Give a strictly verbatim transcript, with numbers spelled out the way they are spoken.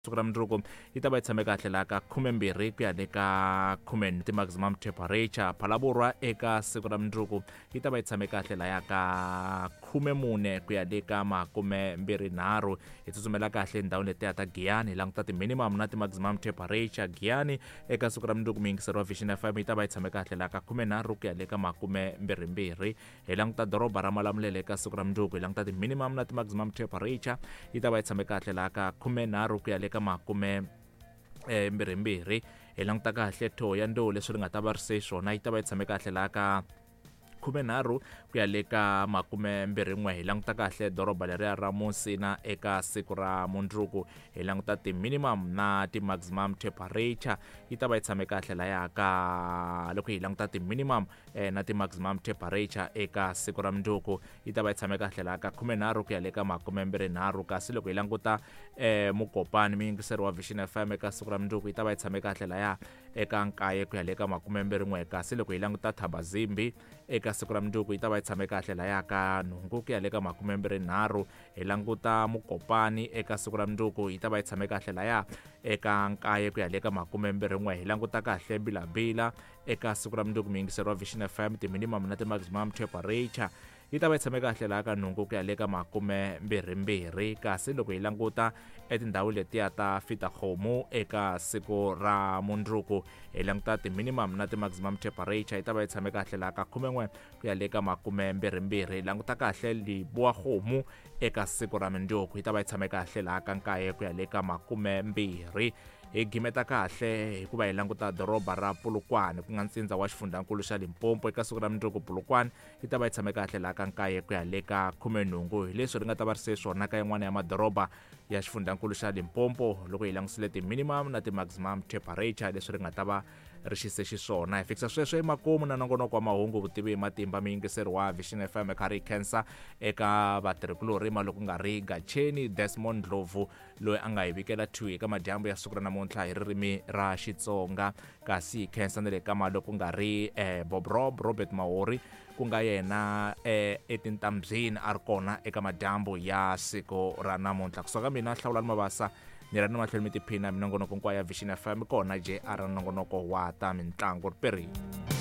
Siku ra mundzuku yi ta va yi tshame kahle laha ka khumembirhi ku ya le ka khume ti-maximum temperature. Phalaborwa eka siku ra mundzuku yi ta va yi tshame kahle laya ka khumemune ku ya le ka makumembirhinharhu. Hi tsutsumela kahle endhawini letiya ta Giyani, hi languta ti-minimum na ti-maximum temperature. Giyani eka siku ra mundzuku muyingiseri wa Vision F M yi ta va yi tshame kahle laha ka khumenharhu ku ya le ka makumembirhimbirhi. Hi languta doroba ra Malamulele eka siku ra mundzuku, hi languta ti-minimum na ti-maximum temperature yi ta va yi tshame kahle laha ka khumenharhu ku ya le ka makume eh, mbirhimbirhi. Hi languta kahle Thohoyandou leswi ri nga ta va ri se swona yi ta va yi tshame kahle laha ka khumenharhu ku ya le ka makumembirhin'we. Hi languta kahle doroba leriya ra Musina eka siku ra mundzuku, hi languta ti-minimum na ti-maximum temperature yi ta va yi tshame kahle laya ka loko hi languta ti-minimum eh, na ti-maximum temperature eka siku ra mundzuku yi ta va yi tshame kahle laha ka khumenharhu ku ya le ka makumembirhinharhu. Kasi loko hi languta eh, Mukopani muyingiseri wa Vision F M eka siku ra mundzuku yi ta va yi tshame kahle laya eka nkaye ku ya le ka makumembirhin'we. Kasi loko hi languta Thabazimbi eka siku ra mundzuku yi ta va yi tshame kahle laya ka nhungu ku ya le ka makumembirhinharhu. Hi languta Mukopani eka siku ra mundzuku yi ta va yi tshame kahle laya eka nkaye ku ya le ka makumembirhin'we. Hi languta kahle Bilabila eka siku ra mundzuku muyingiseri wa Vision F M ti-minimum na ti-maximum temperature yi ta va yi tshame kahle laha ka nhungu ku ya le ka makumembirhimbirhi. Kasi loko hi languta etindhawu letiya ta Fitakgomo eka siku ra mundzuku hi languta ti-minimum na ti-maximum temperature yi ta va yi tshame kahle laha ka khumen'we ku ya le ka makumembirhimbirhi. Hi languta kahle Libuakgomo eka siku ra mundzuku yi ta va yi tshame kahle laha ka nkaye ku ya le ka makumembirhi. Hi gimeta kahle hikuva hi languta doroba ra Polokwane ku nga ntsindza wa xifundzankulu xa Limpopo eka siku ra mundzuku Polokwane yi ta va yi tshame kahle laha ka nkaye ku ya le ka khumenhungu. Hi leswi ri nga ta va ri se swona ka yin'wana ya madoroba ya xifundzankulu xa Limpopo loko hi langusile ti-minimum na ti-maximum temperature leswi ri nga ta va ri xise xiswona. Hi fikisa sweswo emakumu na nongonoko wa mahungu vutivi hi matimba muyingiseri wa Vision F M kha ri khensa eka vatirhikulorhi loko nga ri Gacheni Desmond Ndlovu loyi a nga hi vikela two eka madyambu ya siku ra namuntlha hi ririmi ra Xitsonga. Kasi hi khensa na le ka loko nga ri eh, Bob Rob Robert Mahori ku nga yena eh, etintambyini a ri kona eka madyambu ya siku ra namuntlha. Kusuka mina Hlawulani Mabasa ni ra ni mahlweni mi tiphina minongonoko hinkwayo ya Vision F M kona J R nongonoko wa ta mintlangu ri perile.